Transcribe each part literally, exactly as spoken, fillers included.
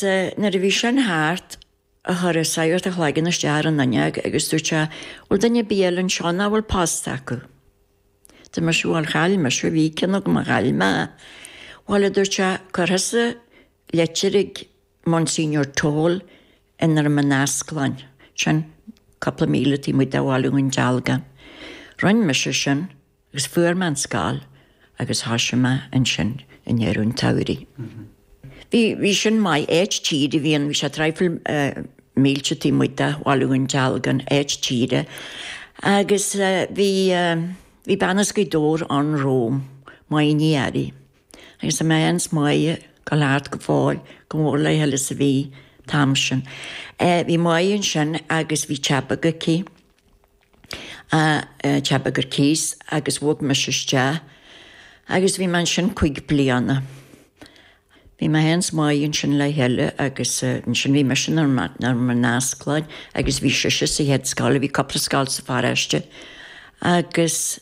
Nuair a bhí sin thart, chuir an sagart a chloigeann isteach ar an fhuinneog agus dúirt sé, 'Bhfuil duine ar bith eile anseo nach bhfuil posta acu? Dúirt mise, 'Bhuel, chaill mise, bhí ceann agam ach chaill mé é. 'Bhuel, a dúirt sé, 'cuir thusa litir ag Monsignor Toal i nDroim an Asclainn, sin cúpla míle taobh amuigh de Bhaile Dhún Dealgan. Rinne mise sin. Agus fuair mé an scoil agus thoisigh mé ansin i ndeireadh an tsamhraidh. Bhí, bhí sin maith, áit tíre a bhí ann, bhí sé traidhfil mílte taobh amuigh de Bhaile Dhún Dealgan, áit tíre. Agus bhí, bhí bean as Gaoth Dobhair ann romham, Máire Ní Fhearraigh. Agus tá mé féin 's Máire ag gabháil thart go fóill, go mór le chéile is a bhí an t-am sin. Bhí Máire ansin agus bhí teach beag aici. Teach beag ar cíos agus bhog mise isteach agus bhí mé ansin cúig bliana. Bhí mé féin 's Máire ansin le chéile agus ansin bhí mise i nDroim an Asclainn agus bhí sise sa chéad scoil, bhí cúpla scoil sa pharáiste agus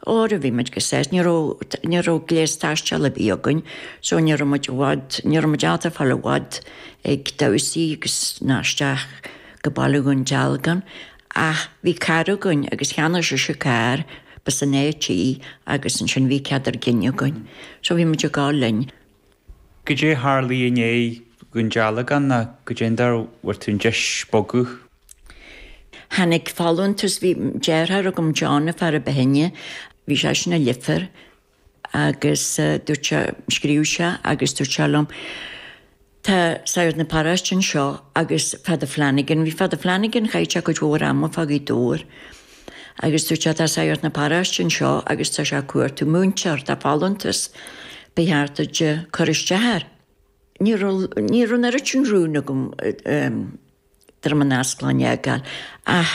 Óra bhí muid go sásta, ní raibh, ní raibh gléas taisteal ar bith againn so ní raibh muid i bhfad, ní raibh muid ábalta fáil i bhfad ag damhsaí agus ná isteach go Baile Dhún Dealgan ach bhí carr againn agus cheannaigh sise carr, b'as an áit í agus ansin bhí cead ár gcinn againn so bhí muid ag gabháil linn. Goidé a tharlaigh i ndiaidh Dhún Dealgan nó goidé an dóigh a bhfuair tú an deis bogadh? Tháinig folúntas, bhí deartháir agam John an fear a ba shine, bhí seisean i Leifear agus dúirt sé, scríobh sé agus dúirt sé liom, tá sagart na paróiste anseo agus Father Flanagan, bhí Father Flanagan, chaith sé cuid mhór ama fá Ghaoth Dobhair agus dúirt sé tá sagart na paróiste anseo agus tá sé ag cuartú múinteoir, tá folúntas, ba cheart duit cur isteach air. Ní raibh, ní raibh an oiread sin rún agam Droim an Asclainn a fhágáil. Ach,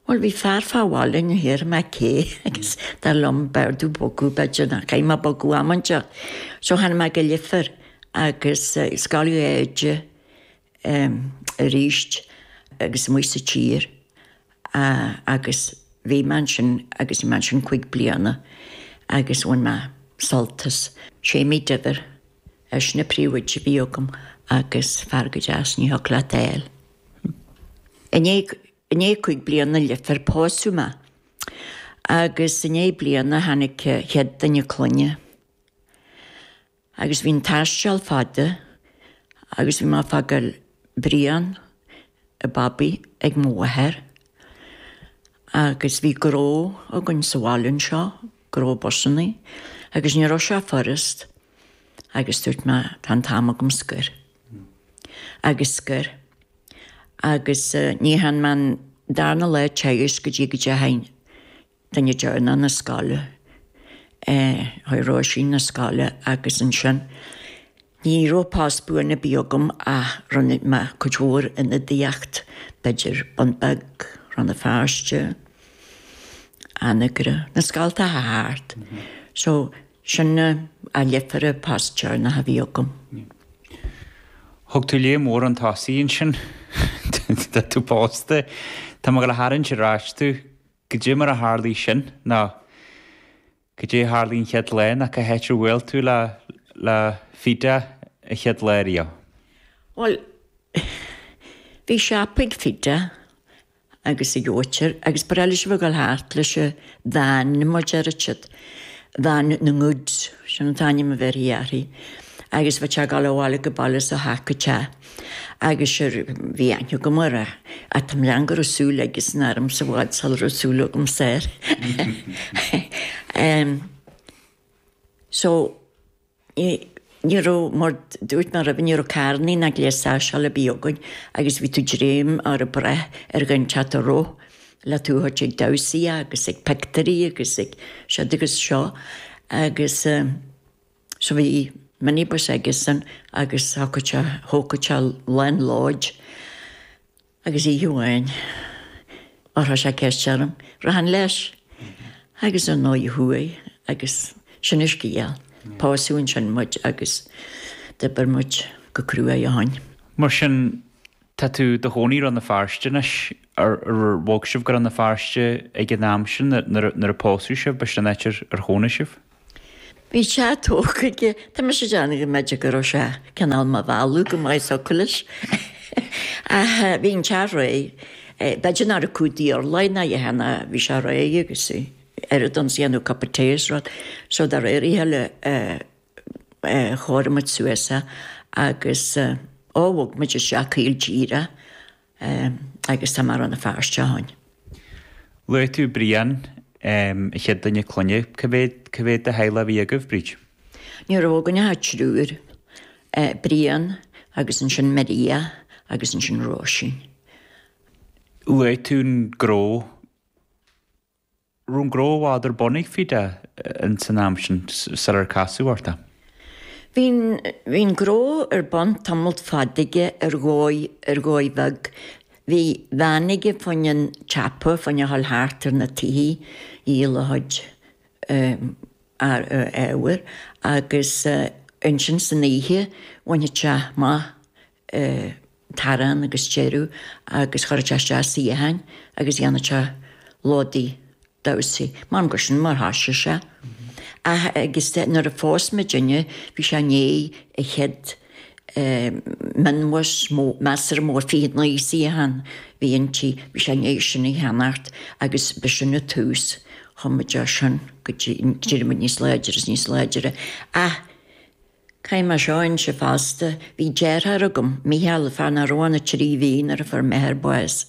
bhuel, bhí fear fá bhaile, ní dhéarfaidh mé cé, agus dar liom b'fhearr domh bogadh, b'fhéidir, nó caithfidh mé bogadh am inteacht. So tháinig mé go Leifear agus scaoileadh oide arís agus amuigh sa tír agus bhí mé ansin agus bhí mé ansin cúig bliana agus bhain mé sult as. Séimí Diamhair. Eisean an príomhoide a bhí agam agus fear go deas, ní thiocfadh leat é a fháil. I ndiaidh, i ndiaidh cúig bliana i Leifear pósadh mé agus i ndiaidh bliana tháinig chéad duine clainne agus bhí an taisteal fada agus bhí mé ag fágáil Brian, an babaí, ag mo mháthair agus bhí gnó againn sa bhaile anseo, gnó busannaí, agus ní raibh sé furast. Agus dúirt mé, tá an t-am agam scor. Agus scor. Agus ní dhearna mé an darna lá teagaisc go dtí go dteachaidh duine deireanach na scoile, chuaigh Róisín na scoile agus ansin ní raibh post buan ar bith agam ach rinne mé cuid mhór ionadaíocht, b'fhéidir Bun Beag, Rann na Feirste, Anagaire, na scoltacha thart. So Sin i Leifear an post deireanach a bhí agam. Thug tú léim mhór chun tosaigh ansin. Tá tú pósta. Tá mé ag dul a tharraingt ar ais tú. Goidé mar a tharlaigh sin nó goidé a tharlaigh an chéad lá nó cá háit ar bhuail tú le le Fida an chéad lá riamh? Bhuel, bhí siopa ag Fida agus ag Óitir agus ba bhreá leis a bheith ag dul thart leis an veain mar deir siad, veain na ngoods, sin an t-ainm a bheirthí uirthi, agus bheadh sé ag dul abhaile go baile is ó theach go teach agus sure bhí aithne agam air ach tá mo lean go raibh súil aigesan ormsa i bhfad sula raibh súil agamsa air. So. Ní raibh, mar dúirt mé roimhe, ní raibh carrannaí ná gléas taisteal ar bith againn agus bhí tú dréim or ag brath ar dhuine inteacht a rith le tú a thabhairt ag damhsaí agus ag pictiúirí agus ag siúd agus seo agus so bhí minibus aigesan agus thógfadh sé, thógfadh sé lán lóid. Agus oíche amháin, chuir sé ceist orm, rachainn leis? Agus ar ndóigh chuaigh agus sin an scéal. Pósadh ansin muid agus d'oibir muid go cruaidh ó shoin. Mar sin, tá tú i do chónaí i Rann na Feirste anois. Ar bhog sibh go Rann na Feirste ag an am sin nuair a pósadh sibh? B'shin an áit ar chónaigh sibh? Bhí sé tógtha aige, tá mise ag déanamh go mb'fhéidir go raibh sé cineál mo mhealladh go maith socair leis. Ach bhí an teach réidh. B'fhéidir nach raibh cúig urlár ná a dhath ná bhí sé réidh agus oiread ann 's dhéanamh cup of tea is rud. So de réir a chéile chóirigh muid suas é agus ó bhog muid isteach caol díreach agus tá mé i Rann na Feirste ó shin. Luaigh tú Brian, an chéad duine clainne. Cá mhéad, cá mhéad de theaghlach a bhí agaibh, Bríd? Ní raibh againn ach triúr, Brian agus ansin Maria agus ansin Róisín. Luaigh tú an gnó. Raibh an gnó i bhfad ar bun ag Fida ins an am sin sular casadh ort é? Bhí an, bhí an gnó ar bun tamalt fada aige ar dhóigh, ar dhóigh bheag. Bhí veain aige fá choinne an tsiopa, fá choinne a dhul thart ar na tithe, dhíol a chuid ábhair agus ansin san oíche bhainfeadh sé amach t-arán agus deireadh agus chuirfeadh sé isteach suíocháin agus dhéanfadh sé lódaí damhsaí. M'anam gur sin mar thoisigh sé. Ach agus nuair a phós muidinne bhí sé i ndiaidh a chéad mionbhus measartha mór fiche naoi suíochán bhí inti, bhí sé i ndiaidh sin a cheannacht agus b'shin an tús, chuaigh muid as sin go dtí, d'éirigh muid níos láidre is níos láidre. Ach caithfidh mé seo a inse fosta, bhí deartháir agam, Mícheál, fear nach raibh ann ach trí mhí nuair a fuair m'athair bás.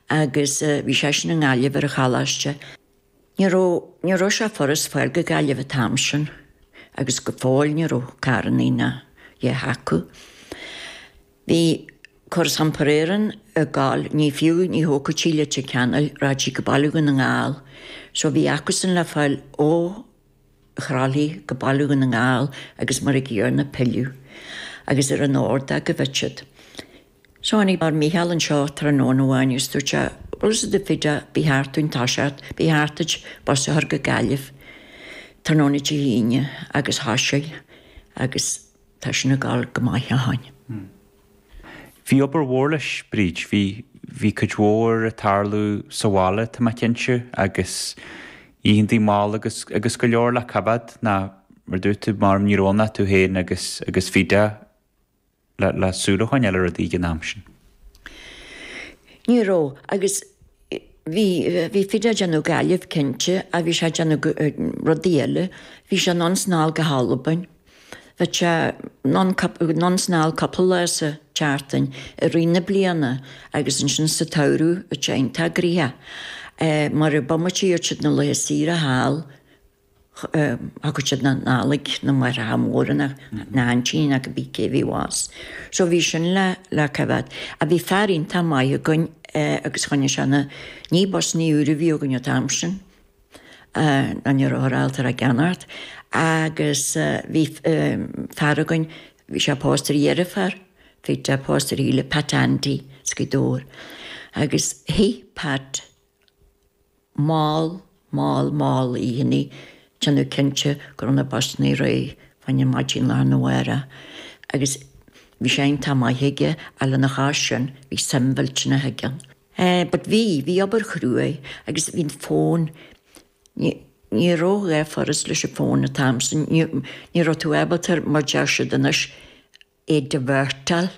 Agus bhí seisean i nGaillimh ar an choláiste. Ní raibh, ní raibh sé furast fáil go Gaillimh an t-am sin agus go fóill ní raibh carrannaí ná a dhath acu. Bhí Córas Iompair Éireann ag gabháil, ní fiú, ní thógfadh sí Leitir Ceanainn, rachadh sí go Baile Dhún na nGall. So bhí acusan le fáil ó Thrá Lí go Baile Dhún na nGall agus mar a gcéanna pilleadh agus ar an ordóg a bheadh siad. So tháinig Mícheál anseo tráthnóna amháin agus dúirt sé, Bhfuil fhios agat Fida, ba cheart dúinn toiseacht, ba cheart duit bus a chur go Gaillimh tráthnóna Dé hAoine agus thoisigh agus tá sin ag dul go maith ó shin. Bhí obair mhór leis, Bríd. Bhí, bhí cuid mhór ag tarlú sa bhaile, tá mé cinnte, agus oícheantaí mall agus, agus go leor le coimhéad ná, mar dúirt tú, mar ní raibh ann ach tú féin agus, agus Fida le, le súil a choinneáil ar rudaí ag an am sin. Ní raibh, agus bhí, bhí Fida ag déanamh Gaillimh cinnte ach bhí sé ag déanamh rudaí eile. Bhí sé anonn 's anall go hAlbain. Bheadh sé anonn 's anall cúpla lá sa tseachtain i rith na bliana agus ansin sa tsamhradh bheadh sé iontach gnoitheach. Mar an bomaite a iarr siad na laetha saoire thall, thagadh siad na Nollaig, na máithreacha móra, na haintíní nó cibé cé a bhí abhus. So bhí sin le le coimhéad. Ach bhí fear iontach maith againn agus choinnigh sé na, ní busannaí úra a bhí againn an t-am sin, ná ní raibh ábalta a gceannacht agus bhí fear againn, bhí sé pósta ar dheirfiúr, bhí sé pósta ar Shíle, Pat Andy as Gaoth Dobhair. Agus shuigh Pat mall, mall, mall oícheannaí, déanamh cinnte go raibh na busannaí réidh fá choinne maidin lá arna mhárach. Agus bhí sé iontach maith aige ach lena chois sin bhí suim mhillteanach aige ann. But bhí, bhí obair chruaidh agus bhí an fón, ní, ní raibh dhá furast leis an bhfón an t-am sin, ní, ní raibh tú ábalta, mar deir siad anois, é divertáil.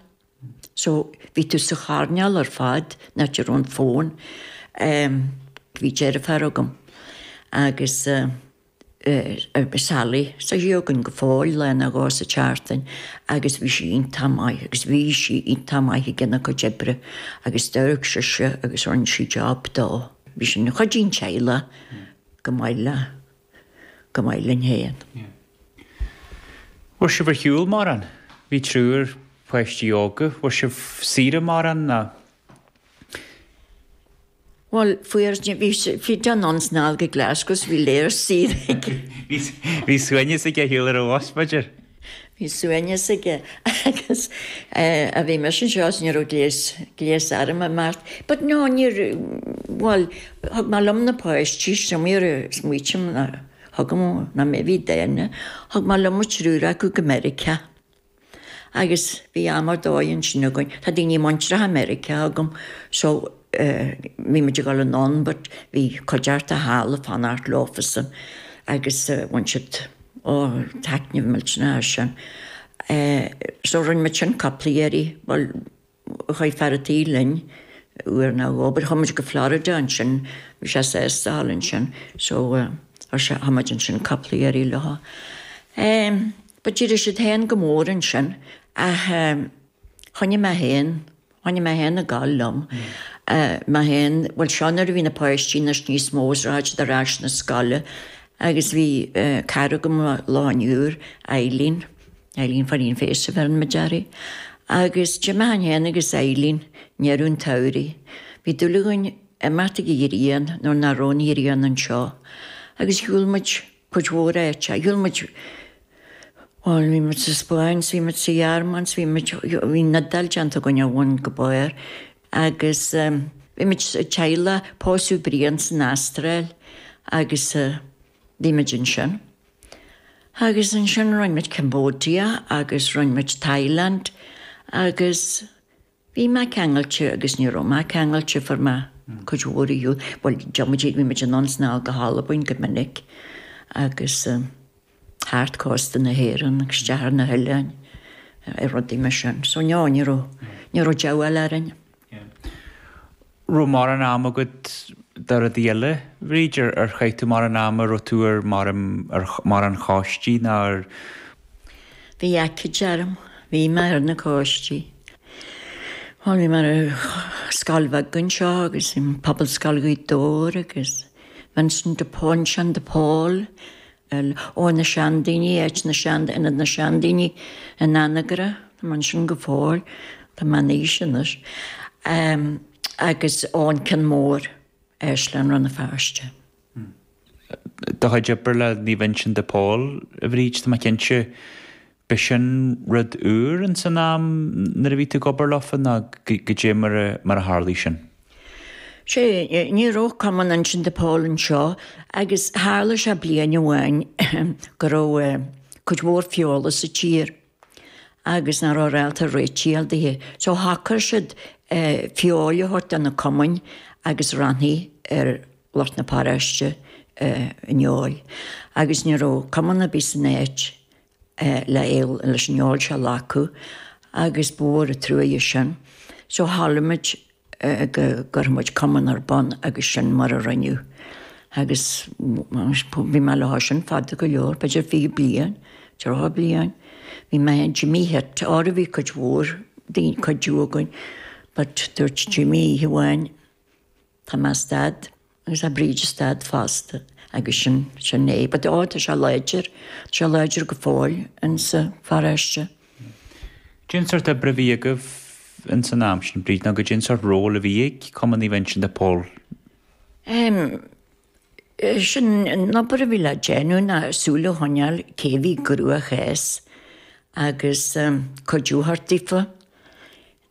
So bhí tú sa choirnéal ar fad, an áit a raibh an fón. Bhí deirfiúr agam agus Sally, tá sí againn go fóill lá nó dhó sa tseachtain agus bhí sí iontach maith agus bhí sí iontach maith ag déanamh a cuid oibre agus d'amharc sise agus rinne sí job dó. Bhí sin ina chuid den teaghlach go maith le, go maith linn féin. Bhfuair sibh ar shiúl mórán? Bhí triúr páistí óga. Bhfuair sibh saoire mórán ná? Bhuel, fuair, bhí, bhí John anonn 's anall go Glasgow so bhí léar saoire aige. Bhí suaimhneas aige ar shiúl ar an bhus, b'fhéidir? Bhí suaimhneas aige agus a bhí mise anseo is ní raibh gléas, gléas orm imeacht. But no, níor, bhuel, thug mé liom na páistí, is iomaí uair a smaoitím ná thugam, ná mé a bhí dána, thug mé liom an triúr acu go Meiriceá. Agus bhí am ar dóigh ansin againn. Tá daoine muinteartha i Meiriceá agam so bhí muid ag dul anonn but bhí cuideachta thall ag fanacht leofasan agus bhain siad Ó, taitneamh millteanach é sin. So rinne muid sin cúpla iarraidh, bhuel, chuaigh fear an tí linn uair nó dhó, but chuaigh muid go Florida ansin, bhí sé sásta a dhul ansin, so chuaigh muid ansin cúpla iarraidh leo. But d'éirigh siad féin go mór ansin ach choinnigh mé féin, choinnigh mé féin ag gabháil liom. Mé féin, bhuel seo nuair a bhí na páistí anois níos mó is rachaidh siad ar ais na scoile agus bhí cara agam lá an Iúir, Eileen, Eileen Phóilín Féis a bheireann muid uirthi, agus d'imigh féin agus Eileen i ndeireadh an tsamhraidh. Bhí dúil againn imeacht ag an ghrian nuair nach raibh an ghrian anseo agus shiúil muid cuid mhór áite, shiúil muid, bhuel bhí muid sa Spáinn, bhí muid sa Ghearmáin, bhí muid, bhí an Iodáil déanta againn ó bhun go barr agus bhí muid sa teaghlach, pósadh Brian san Astráil agus bhí muid ansin. Agus ansin rinne muid Cambodia agus rinne muid Thailand agus bhí mé ceangailte agus ní raibh mé ceangailte fuair mé cuid mhór a shiúl, bhuel d'imigh bhí muid anonn 's anall go hAlbain go minic agus thart cósta na hÉireann agus isteach ar na hoileáin ar rudaí mar sin. So no, ní raibh, ní raibh diabhal orainn. Raibh mórán ama agat do rudaí eile, Bhríd, ar ar chaith tú mórán ama, raibh tú ar ar mórán choistí ná ar. Bhí aicíd orm, bhí mé ar na coistí. Bhuel, bhí mé ar scoil bheag anseo agus i Pobalscoil Ghaoth Dobhair agus Vincent de Uinseann de Pól, ó na seandaoine, áit na sean, ionad na seandaoine in Anagaire, tá mé ansin go fóill, tá mé in aois anois, agus ó an Cionn Mór, Áislann Rann na Feirste. Do chuid oibre le Naomh Uinseann de Pól, a Bhríd, tá mé cinnte, b'shin rud úr ins an am nuair a bhí tú ag obair leofa nó goidé mar a, mar a tharlaigh sin? Sé, ní raibh Cumann Uinseann de Pól anseo agus tharla sé bliain amháin go raibh cuid mhór feola sa tír agus nach raibh réalta réitigh daoithe. So shocair siad feoil a thabhairt do na cumainn agus roinnfí ar lucht na paróiste an fheoil. Agus ní raibh cumann ar bith san áit le leis an fheoil seo a ghlacadh agus ba mhór an truaighe sin. So tharla muid go gcuirfeadh muid cumann ar bun agus sin mar a rinneadh. Agus bhí mé leo sin fada go leor, b'fhéidir fiche bliain, tríocha bliain. Bhí mé Jimmy Hitt, ára bhí cuid mhór daoine cuidiú againn, but dúirt Jimmy oíche amháin, tá mé stad agus tá Bríd stad fosta agus sin sin é. But ó tá sé láidir, tá sé láidir go fóill insa pharóiste. Cén sórt oibre a bhí agaibh ins an am sin, Bríd, nó goidé an sórt ról a bhí ag Cumann Naomh Uinseann de Pól? Um, sin an obair a bhí le déanamh ná súil a choinneáil cé bhí i gcruachás agus um, cuidiú a thabhairt daofa.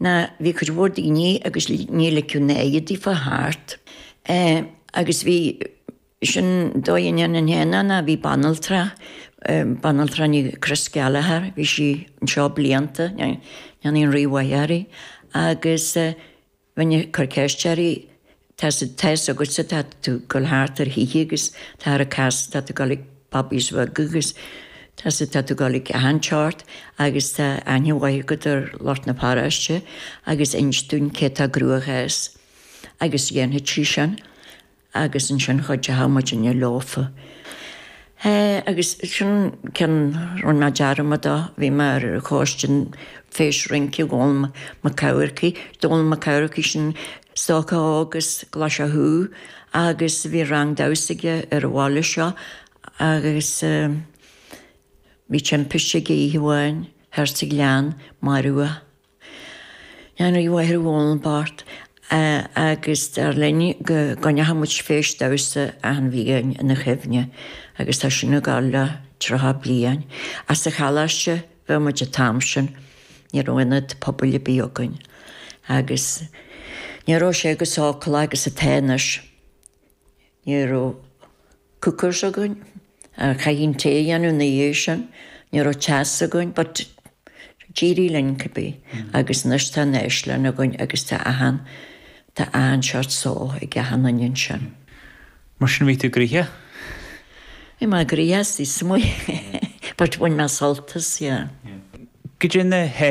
Ná bhí cuid mhór daoine agus ní ligeadh na daofa thart. Uh, agus bhí sin dóigh a ndéanann féin ná bhí banaltra, banaltra ní Chris Gallagher, bhí sí anseo blianta, ndéanfaidh an rímhaith uirthi, agus bheinn ag cur ceist uirthi, tá tá agatsa tá tú ag dul thart ar thithe agus tá ar cas tá tú ag dul ag pubbies bheaga agus tá tá tú ag dul ag achan tseort agus tá aithne mhaith agat ar lucht na paróiste agus inis dúinn cé tá i gcruachás agus dhéanfaidh sí sin agus ansin chuideodh muidinne leofa. Agus sin ceann rinne mé dearmad de, bhí mé ar choiste Feis Rince Dhónal Mac Eamharcaigh, Dónal Mac Eamharcaigh sin stócach óg as Glaise Chú agus bhí rang damhsa aige ar an bhaile seo agus bhí timpiste aige oíche amháin thoir sa ghleann, maraíodh é. An rímhaith ar Dhónal bocht agus dar linn go gcoinneochadh muid feis damhsa achan bhliain ina chuimhne agus tá sin ag dul le tríocha bliain. As sa choláiste bheadh muid an t-am sin, ní raibh ionad pobail ar bith againn. Agus ní raibh sé go sócúlach agus atá anois. Ní raibh cookers againn, chaithfí an tae a dhéanamh ina dhiaidh sin, ní raibh teas againn, but d'éirigh linn cibé. Agus anois tá an áislann againn agus tá achan tá achan seort só ag achan duine ansin. Mar sin bhí tú gnoitheach? Bhí mé gnoitheach is amuigh, but bhain mé sult as, yeah. Goidé na